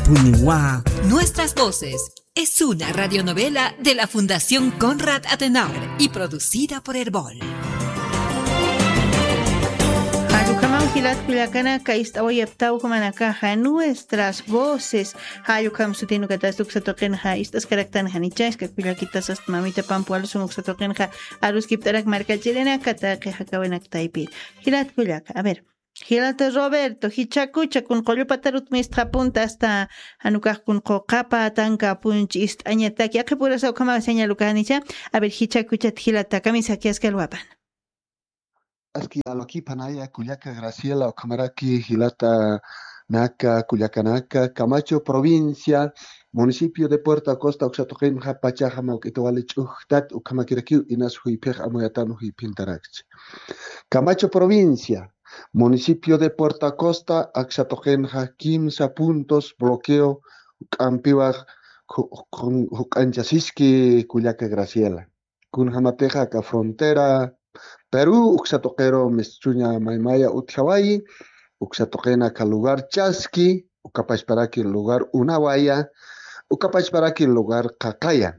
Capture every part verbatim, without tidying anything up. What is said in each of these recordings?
Puniwa. Nuestras voces. Es una radionovela de la Fundación Konrad Adenauer y producida por Erbol. Jallukamaw jilat kullakanaka, ist'awayaptaw jumanakaxa Nuestras Voces. Jallukam sutin ukatas uksa tuqinxa ist'askaraktan janicha, iskak kullakitas asta mamita pampuwalusun uksa tuqinxa aruskipt'arak markachirinaka taqi jakawinak taypi. Jilat kullaka, a ver. Jilata Roberto, jichhakucha kun qullupatarut mistxapunta asta janukax kun quqapa tankapunchi ist'añataki. Aqhipurasa ukhama señal ukanicha. A ver, jichhakuchat jilata, kamisaki askalwapan. Aski alwakipanaya kullaka Graciela, ukhamaraki jilata naka, kullakanaka, Camacho provincia, municipio de Puerto Acosta, uksa tuqinxa pachaxa mawk'ita wali ch'ujtat, ukhamakirakiw inas juyphix amuyatan juyphintarakchi. Camacho provincia, municipio de Puerto Acosta, aksa tuqinxa kimsa puntos bloqueo, juk'ampiwa ju-, jun-, juk'anchasiski kullaka Graciela. Kunjamatixa aka frontera Perú uksa tuqiru mistuña maymaya utjawayi, uksa tuqina aka lugar Chaski, ukapachparaki lugar Unawaya, ukapachparaki lugar Qaqaya.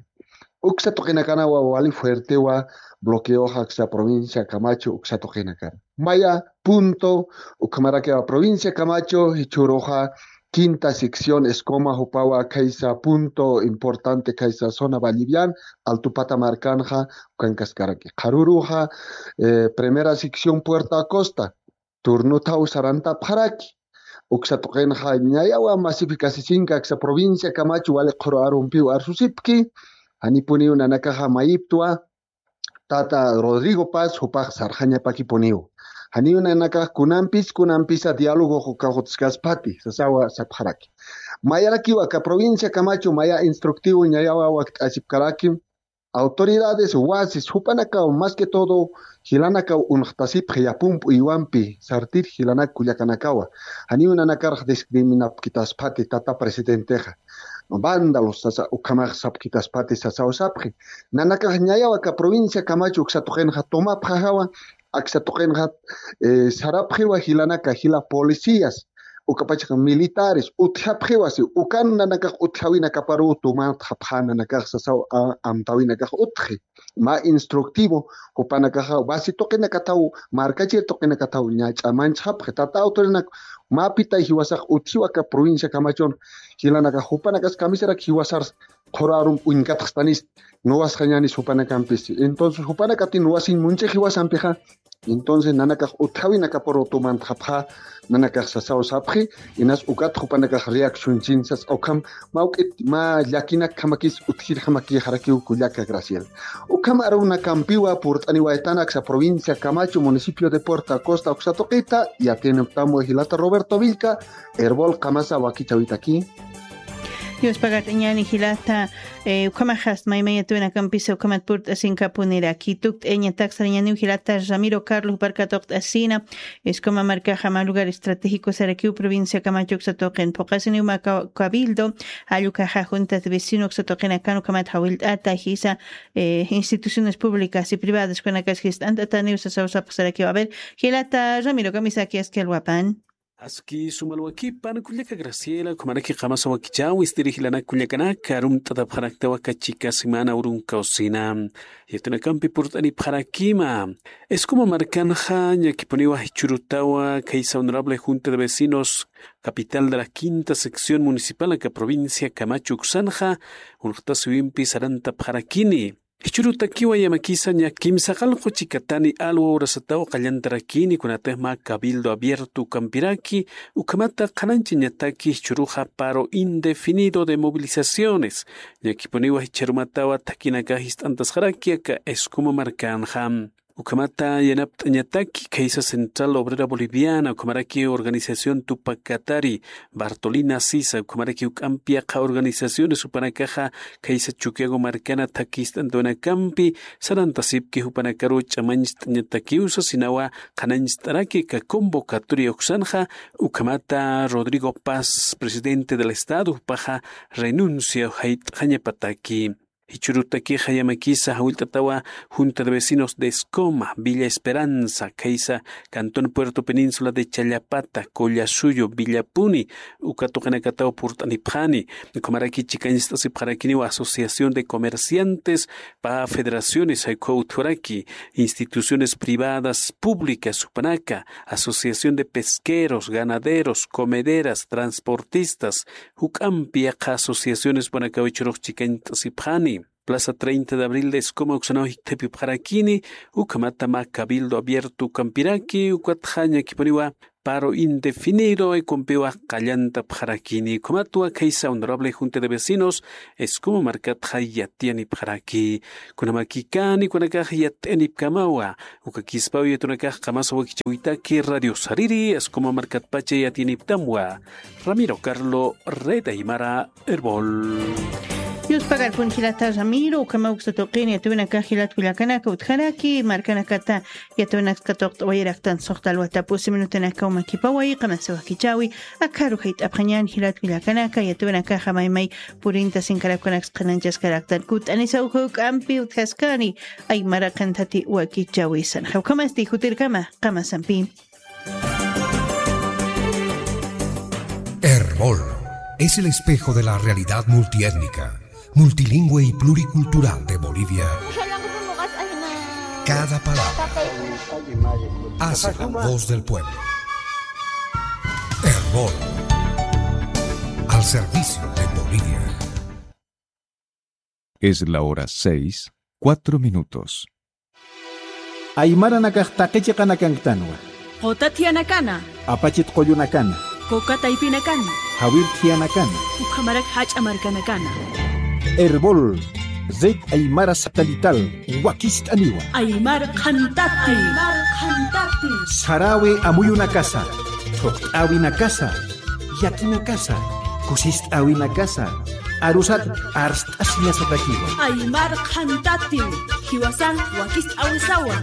Uksa tuqinakanawa wali fuertewa bloqueoxa aksa provincia Camacho uksa tuqinakana. Maya punto, ukhamarakiwa provincia Camacho, jichhüruxa quinta sección Escoma jupawa khaysa punto importante, khaysa zona Vallivian, Altupata markanxa ukankaskaraki. Qharüruxa, eh, primera sección Puerto Acosta, turnuthaw sarantapxaraki. Uksa tuqinxa ñayawa masifikasisinka aksa provincia Camacho wali qhuru arumpiw arsusipki, janipuniw nanakaxa mayiptwa, tata Rodrigo Paz jupax sarxañapakipuniw. Janiw nanakax kunampis, kunampisa diálogo ukax utjkaspati, sasawa sapxaraki. Mayarakiw aka provincia Camacho maya instructivo ñayawa wakt'asipkaraki, autoridades, wasis, jupanakaw, más que todo, jilanakaw unxtasipxi yapump uywampi, sartir jilanak kullakanakawa. Janiw nanakarx discriminapkitaspati tata presidentexa. Vándalos sasa, ukhamax sapkitaspati sasaw sapxi. Nanakax ñayaw aka provincia Camacho uksa tuqinxa tomapxajawa, aksa tuqinxa, eh, sarapxiwa jilanaka, jila policías, ukapachax militares, utjapxiwa si, ukan nanakax utjawinakaparu tumantxapxa nanakax sasaw, a-, amtawinakax utji. Mä instructivo, jupanakaxa wasi tuqinakathaw, markachir tuqinakathaw ña ch'amanchxapxi. Tata autoridadnak, mäpitay jiwasax utjiw aka provincia Camachon, jilanakax jupanakas kamisarak jiwasar qhuru arum uñkatxstanis, nuwasxañanis jupanakampis. Entonces, jupanakati nuwasiñ munchix jiwasampixa, entonces, nanakax utjawinakaparu tumantxapxa, nanakax sasaw sapxi, inas ukat jupanakax reaccionchin sas, ukham, mä uk'it, mä llakinakjamakis utjirjamakixarakiw kullaka Graciela. Ukham arunakampiwa purt'aniwaytan aksa provincia Camacho, municipio de Puerto Acosta, uksa tuqita, yatiyapxtam jilata Roberto Villca, Erbol Qamasa wakichäwitaki. Dios pagart'añäni jilata, eh, ukhamaxas maymayatuwinakampisa ukhamat purt'asinkapuniraki. Tukt'ayañatak sarañäniw jilata Ramiro Carlos juparka tuqt'asina, Escoma markaxa mä lugar estratégico sarakiw provincia Camacho uksa tuqin. Phuqasiniw mä ca-, cabildo, jall ukaxa junta de vecino uksa tuqinakan ukhamat jawillt'ata jisa, eh, instituciones públicas y privadas kunakasa jist'ant'ataniw sasaw sapxsarakiw. A ver, jilata Ramiro, kamisaki askalwapan. Aski suma alwakipan kullaka Graciela, ukhamaraki qamasa wakichäwi istiri jilanak kullakanaka, arumt'atapxaraktawa aka chika semana urunkaw sina. Yatinakampi purt'anipxarakima. Escoma markanxa, ñakipuniwa jichhürutawa, khaysa honorable Junta de Vecinos, capital de la quinta sección municipal aka provincia Camacho uksanxa, unxtasiwimpi sarantapxarakini. Jichhürutakiwa yamakisa ña kimsaqallqu chikatani alwa urasataw qallantarakini, kunatix mä cabildo abierto ukampiraki, ukhamata qhanañchañataki jichhüruxa paro indefinido de movilizaciones. Ñakipuniwa jichhürumatawa thakinakax jist'antasxaraki aka Escoma markanxa. Ukhamata yanapt'añataki khaysa Central Obrera Boliviana, ukhamaraki organización Tupac Katari, Bartolina Sisa, ukhamaraki juk'ampi yaqha organizaciones jupanakaxa khaysa Chukiyawu markana thakhi jist'antawinakampi sarantasipki, jupanakaru ch'amañcht'añatakiw sasinawa, qhanañcht'araki aka convocatoria uksanxa, ukhamata Rodrigo Paz, presidente del Estado, jupaxa renuncia jayt'xañapataki. Jichhürutaki jayamakisa jawillt'atawa Junta de Vecinos de Escoma, Villa Esperanza, khaysa Cantón Puerto Península de Challapata, Collasuyo, Villapuni, uka tuqinakataw purt'anipxani. Ukhamaraki chikañst'asipxarakiniw Asociación de Comerciantes, pä federaciones jayk'uwa utjaraki, instituciones privadas, públicas, jupanaka, Asociación de Pesqueros, Ganaderos, Comederas, Transportistas, juk'ampi yaqha asociaciones jupanakaw jichhürux chikañst'asipxani. Plaza treinta de Abril de Escoma uksanaw jikthapipxarakini, ukhamata mä Cabildo Abierto ukampiraki, ukatxa ñakipuniwa paro indefinido, ukumpiwa qallantapxarakini. Ukhamatwa khaysa Honorable Junta de Vecinos Escoma markatxa yatiyanipxaraki. Kunamakikani, kunakax yatiyanipkamawa, ukakispaw yatunakax qamasa wakichäwitaki Radio Sariri, Escoma markatpacha yatiyaniptamwa. Ramiro Carlo, Red Aymara, Erbol. Yuspagarpun jilata Ramiro, ukhamaw uksa tuqin yatïwinakax jilat kullakanaka utjaraki, markanakata yatïwinaksa katuqt'awayiraktan suxta alwatapusi minutanakaw makipaway, qamasa wakichäwi, akharu jayt'apxañän jilat kullakanaka, yatïwinakaxa maymay purinta sinkarapkanaksa qhanañchaskaraktan, kutt'anisa uka juk'ampi utjaskani, aymara qhanthati wakichäwisan. Ukhamasti jutirkama, qamasampi. Erbol es el espejo de la realidad multiétnica, multilingüe y pluricultural de Bolivia. Cada palabra hace la voz del pueblo. Erbol, al servicio de Bolivia. Es la hora seis, cuatro minutos. Aymaranakax taqi chiqanakanktanwa. Quta thiyanakanwa. Apachit qullunakana. Kuka taypinakana. Jawir thiyanakanwa. Ukhamarak jach'a markanakana. Erbol, Red Aymara Satelital, wakist'aniwa. Aymar qhantati. Aymar qhantati. Sarawi amuyunakasa, thuqt'äwinakasa, yatinakasa, kusist'äwinakasa, arusat arst'asiñasatakiwa. Aymar qhantati, jiwasan wakist'äwisawa.